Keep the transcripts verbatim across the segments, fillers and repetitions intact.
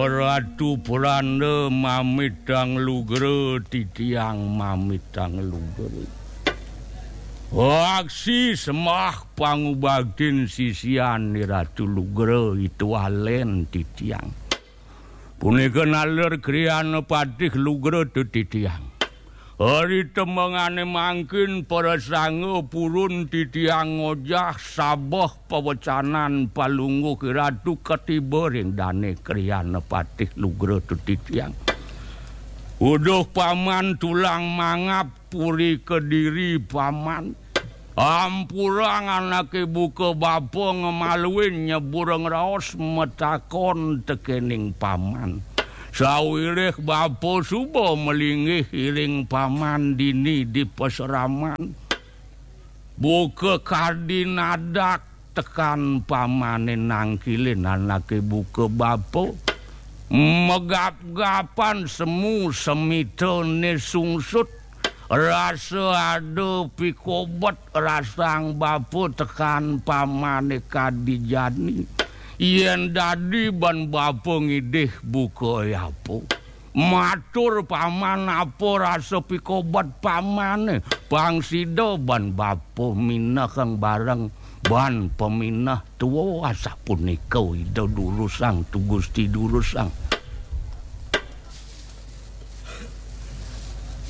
Ratu Pranda mamitang lugra, titiang mamitang lugra. Aksi sembah pangubaktin sisian Ratu Lugra itu alen titiang. Punika naler kriyana patih lugra tu titiang. Ari temengane mangkin prasanga purun titiang ngojah sabeh pawecanan palungguh Ratu katiba ring dane kriyana patih lugra tu titiang. Uduh paman tulang mangap puri kediri paman. Ampurang anake buka bapa ngemaluin nyebur ngraos matakon tekening paman. Sawiréh bapa suba malinggih iring paman dini di pasraman. Buka kadi nadak tekan pamane nangkilin anake buka bapa. Megap-gapan semu semitane sungsut. Rasa ada pikobet rasang bapa tekan pamane kadi jani. Yen dadi ban bapa ngidih buka yapa. Matur paman apa rasa pikobet pamane. Pang sida ban bapa minehang bareng ban pamineh tua asapunika Ida durusang tu Gusti durusang.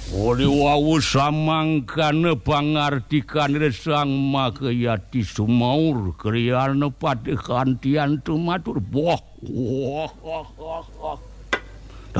Uli wau samangkana pangartikan resang makayati sumaur kriyana patih kantian tumatur. Wah, wah, wah, wah, wah.